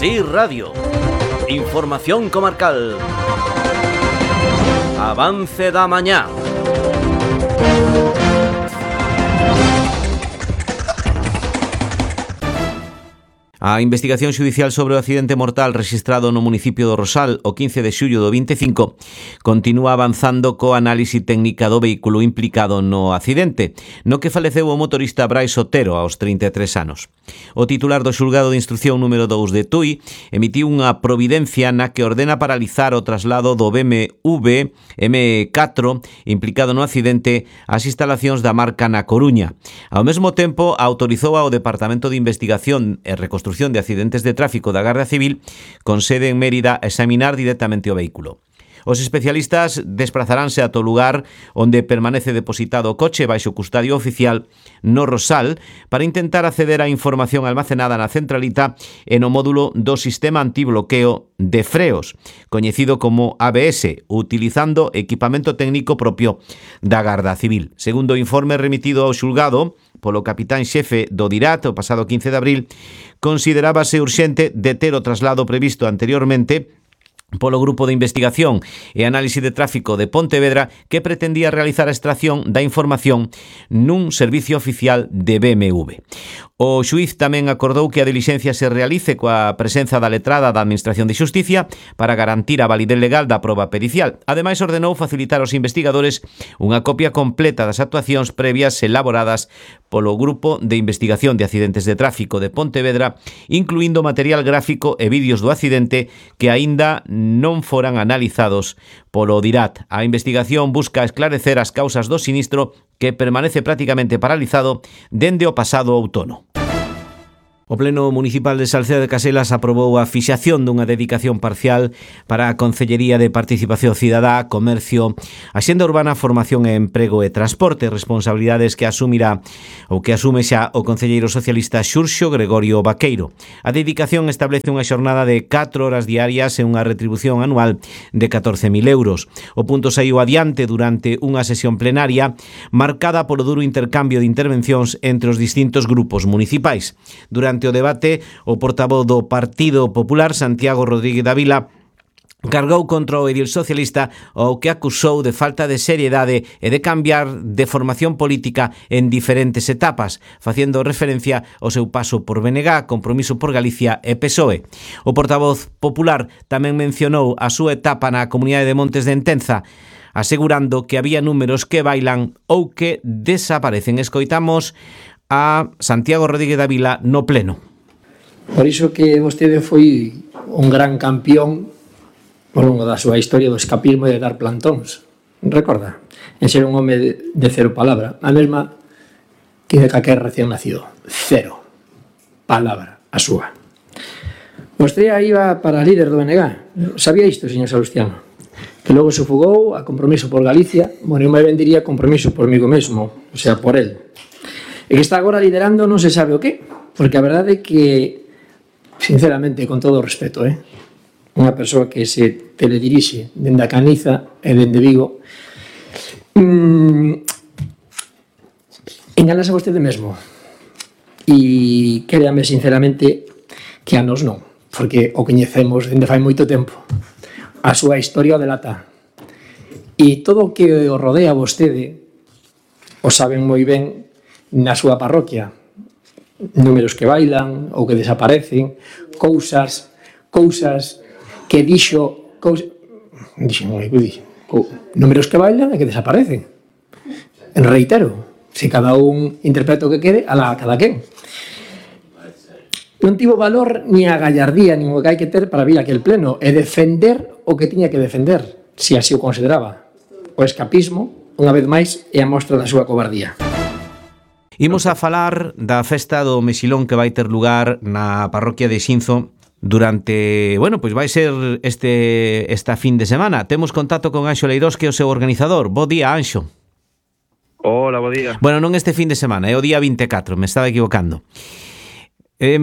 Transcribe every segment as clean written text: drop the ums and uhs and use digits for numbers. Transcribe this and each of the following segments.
Sí Radio. Información comarcal. Avance da mañá. A investigación xudicial sobre o accidente mortal rexistrado no municipio do Rosal o 15 de xullo do 25 continúa avanzando co análise técnica do vehículo implicado no accidente, no que faleceu o motorista Brais Otero aos 33 anos. O titular do xulgado de instrucción número 2 de Tui emitiu unha providencia na que ordena paralizar o traslado do BMW M4 implicado no accidente ás instalacións da marca na Coruña. Ao mesmo tempo, autorizou ao Departamento de Investigación e Reconstrucción de Accidentes de Tráfico da Garda Civil con sede en Mérida a examinar directamente o vehículo. Os especialistas desplazaránse ata o lugar onde permanece depositado o coche baixo custodia oficial no Rosal para intentar acceder á información almacenada na centralita e no módulo do sistema antibloqueo de freos, coñecido como ABS, utilizando equipamento técnico propio da Garda Civil. Segundo o informe remitido ao xulgado polo capitán xefe do DIRAT o pasado 15 de abril, considerábase urxente deter o traslado previsto anteriormente polo Grupo de Investigación e Análise de Tráfico de Pontevedra que pretendía realizar a extracción da información nun servicio oficial de BMW. O xuíz tamén acordou que a dilixencia se realice coa presenza da letrada da Administración de Xusticia para garantir a validez legal da proba pericial. Ademais, ordenou facilitar aos investigadores unha copia completa das actuacións previas elaboradas polo Grupo de Investigación de Accidentes de Tráfico de Pontevedra, incluindo material gráfico e vídeos do accidente que aínda non foran analizados polo DIRAT. A investigación busca esclarecer as causas do sinistro que permanece prácticamente paralizado dende o pasado outono. O Pleno Municipal de Salceda de Caselas aprobou a fixación dunha dedicación parcial para a Concellería de Participación Cidadá, Comercio, Axenda Urbana, Formación e Emprego e Transporte, responsabilidades que asumirá ou que asume xa o concelleiro socialista Xurxo Gregorio Vaqueiro. A dedicación establece unha xornada de 4 horas diarias e unha retribución anual de 14.000 euros. O punto saiu adiante durante unha sesión plenaria marcada polo duro intercambio de intervencións entre os distintos grupos municipais. Durante o debate, o portavoz do Partido Popular, Santiago Rodríguez Dávila, cargou contra o edil socialista o que acusou de falta de seriedade e de cambiar de formación política en diferentes etapas, facendo referencia ao seu paso por BNG, Compromiso por Galicia e PSOE. O portavoz popular tamén mencionou a súa etapa na Comunidade de Montes de Entenza, asegurando que había números que bailan ou que desaparecen. Escoitamos a Santiago Rodríguez Dávila no Pleno. Por iso que vostede foi un gran campeón ao longo da súa historia do escapismo e de dar plantóns. Recorda? En ser un home de cero palabra. A mesma que de calquer recién nacido. Cero palabra a súa. Vostede iba para líder do BNG. Sabía isto, señor Salustiano? Que logo se fugou a Compromiso por Galicia. Bueno, eu me vendiría Compromiso por migo mesmo, o sea, por él. E que está agora liderando non se sabe o que, porque a verdade é que, sinceramente, con todo o respeto, unha persoa que se teledirixe dende a Caniza e dende Vigo, enganase a vostede mesmo. E créame sinceramente que a nos non, porque o coñecemos dende fai moito tempo. A súa historia o delata. E todo o que o rodea a vostede o saben moi ben na súa parroquia. Números que bailan ou que desaparecen, cousas que dixo, números que bailan e que desaparecen. En reitero, se cada un interpreta o que quede, alá cada quen. Non tivo valor ni a gallardía nin o que hai que ter para vir a aquel pleno e defender o que tiña que defender, se así o consideraba. O escapismo, unha vez máis, é a mostra da súa cobardía. Imos a falar da festa do Mexilón que vai ter lugar na parroquia de Xinzo durante, pois vai ser esta fin de semana. Temos contacto con Anxo Leirós, que é o seu organizador. Bo día, Anxo. Hola, bo día. Bueno, non este fin de semana, é o día 24, me estaba equivocando.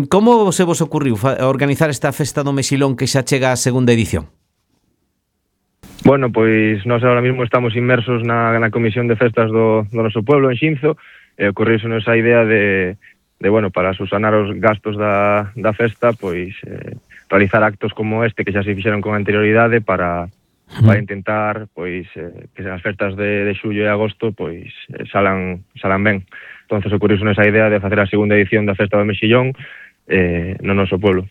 Como se vos ocurriu organizar esta festa do Mexilón que xa chega a segunda edición? Bueno, pois nós agora mesmo estamos inmersos na comisión de festas do noso pueblo, en Xinzo, e ocorreusenos a idea de para subsanar os gastos da festa, pois realizar actos como este que xa se fixeron con anterioridade para intentar pois que as festas de xullo e agosto pois salan ben. Entonces ocurriuse esa idea de facer a segunda edición da Festa do Mexillón no noso pueblo.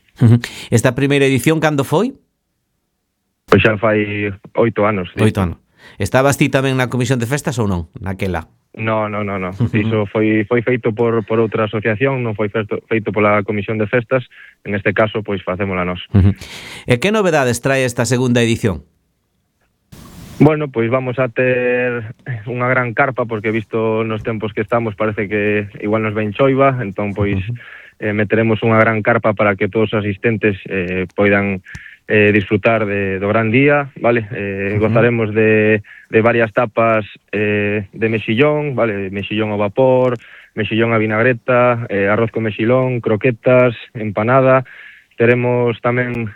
Esta primeira edición cando foi? Pois xa fai 8 anos. 8 anos. Estabas ti tamén na comisión de festas ou non? Naquela? No. Iso foi feito por outra asociación, non foi feito pola comisión de festas. En este caso, pois facémola nós. E que novedades trae esta segunda edición? Bueno, pois vamos a ter unha gran carpa, porque visto nos tempos que estamos parece que igual nos ven choiva, entón pois meteremos unha gran carpa para que todos os asistentes poidan disfrutar do gran día, vale? Gozaremos de varias tapas de mexillón, vale? Mexillón ao vapor, mexillón a vinagreta, arroz con mexilón, croquetas, empanada. Teremos tamén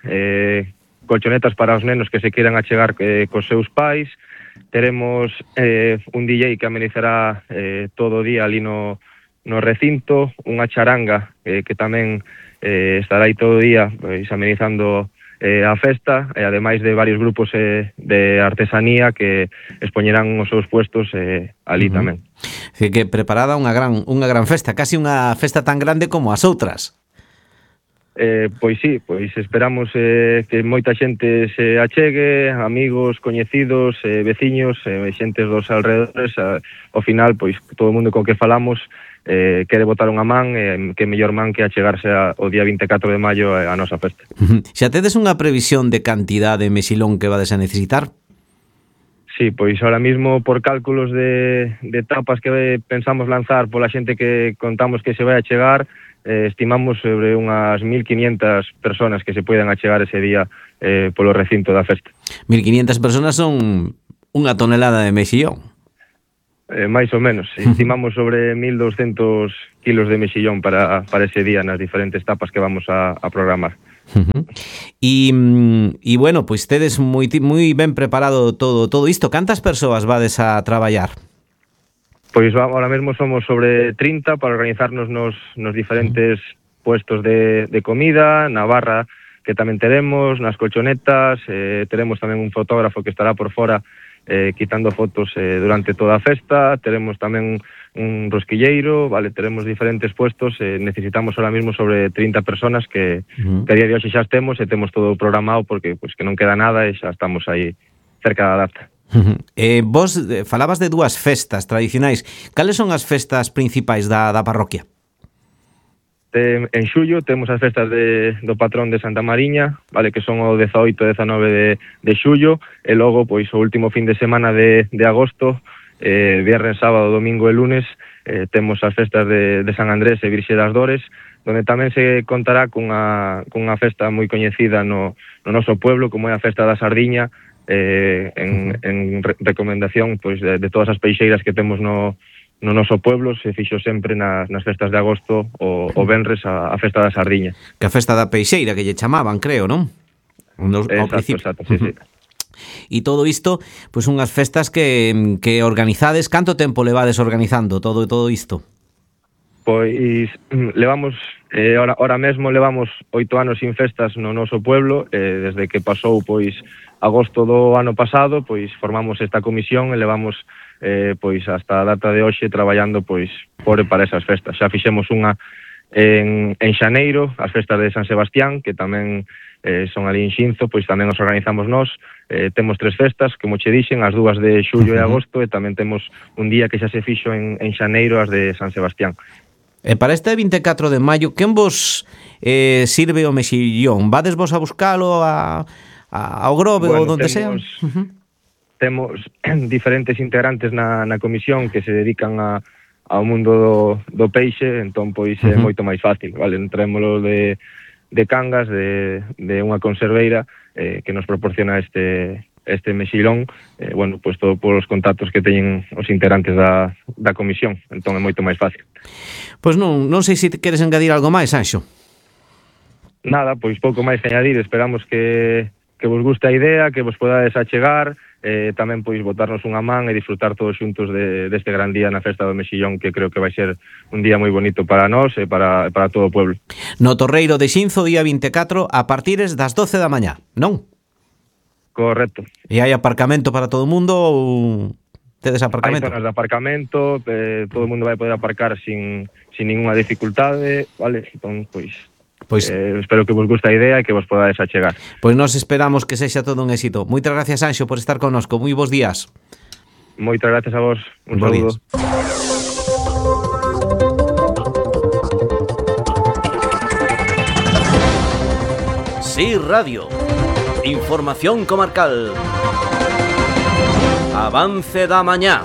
colchonetas para os nenos que se queiran achegar cos seus pais. Teremos un DJ que amenizará todo o día ali no recinto, unha charanga que tamén estará aí todo o día pois, amenizando a festa, e ademais de varios grupos de artesanía que expoñerán os seus puestos ali tamén. Que preparada unha gran festa, casi unha festa tan grande como as outras. Pois sí, pois esperamos que moita xente se achegue, amigos, coñecidos, veciños, xentes dos alrededores. Ao final, pois todo o mundo co que falamos quere botar unha man, que mellor man que achegarse o día 24 de maio a nosa festa. Xa tedes unha previsión de cantidade de mexilón que vades a necesitar? Sí, pois ahora mismo por cálculos de tapas que pensamos lanzar pola xente que contamos que se vai a chegar, estimamos sobre unhas 1.500 personas que se poidan achegar ese día polo recinto da festa. 1.500 personas son unha tonelada de mexillón. máis ou menos. Estimamos sobre 1.200 kilos de mexillón para ese día nas diferentes tapas que vamos a programar. E bueno, pois tedes moi ben preparado todo isto. Cantas persoas vades a traballar? Pois ahora mesmo somos sobre 30 para organizarnos nos diferentes puestos de comida, na barra que tamén teremos, nas colchonetas, teremos tamén un fotógrafo que estará por fora quitando fotos durante toda a festa, teremos tamén un rosquilleiro, vale, teremos diferentes puestos, necesitamos ahora mismo sobre 30 personas que a día de hoxe xa temos todo programado porque pues, que non queda nada e xa estamos aí cerca da data. Vos falabas de dúas festas tradicionais. Cales son as festas principais da parroquia? En xullo temos as festas do patrón de Santa Mariña, vale, que son o 18 e 19 de xullo, e logo pois o último fin de semana de agosto, viernes, sábado, domingo e lunes, temos as festas de San Andrés e Virxe das Dores, donde tamén se contará cunha festa moi coñecida no noso pueblo, como é a festa da Sardiña, en recomendación pois de todas as peixeiras que temos no noso pueblo. Se fixo sempre nas festas de agosto o venres a festa da Sardiña, que a festa da peixeira que lle chamaban, creo, non? Exacto, sí. E todo isto, pois unhas festas que organizades. Canto tempo levades organizando todo isto? Pois levamos ahora mesmo levamos 8 anos sin festas no noso pueblo, desde que pasou pois agosto do ano pasado, pois formamos esta comisión e levamos pois hasta a data de hoxe traballando pois para esas festas. Xa fixemos unha en xaneiro, as festas de San Sebastián, que tamén son ali en Xinzo, pois tamén os organizamos nós. Temos 3 festas, como che dixen, as dúas de xullo e agosto, e tamén temos un día que xa se fixo en xaneiro, as de San Sebastián. E para este 24 de maio, quen vos sirve o mexillón? Vades vos a buscalo ao Grove ou donde sea? Temos diferentes integrantes na comisión que se dedican ao mundo do peixe, entón pois é moito máis fácil, vale? Entrémolo de Cangas, de unha conserveira que nos proporciona este mexilón, bueno, pois todo polos contactos que teñen os integrantes da comisión, entón é moito máis fácil. Pois non sei se queres engadir algo máis, Anxo. Nada, pois pouco máis que añadir. Esperamos que vos guste a idea, que vos podades achegar, tamén pois botarnos unha man e disfrutar todos xuntos deste gran día na Festa do Mexillón, que creo que vai ser un día moi bonito para nós e para todo o pueblo. No Torreiro de Xinzo, día 24, a partires das 12 da mañá, non? Correcto. E hai aparcamento para todo o mundo ou tedes aparcamento? Hai zonas de aparcamento, todo o mundo vai poder aparcar sin ninguna dificultade, vale? Entón, pois espero que vos guste a idea e que vos podades achegar. Pois nós esperamos que sexa todo un éxito. Moitas gracias, Anxo, por estar connosco. Moi bons días. Moitas gracias a vos. Un saludo. Sí Radio. Información comarcal. Avance da mañá.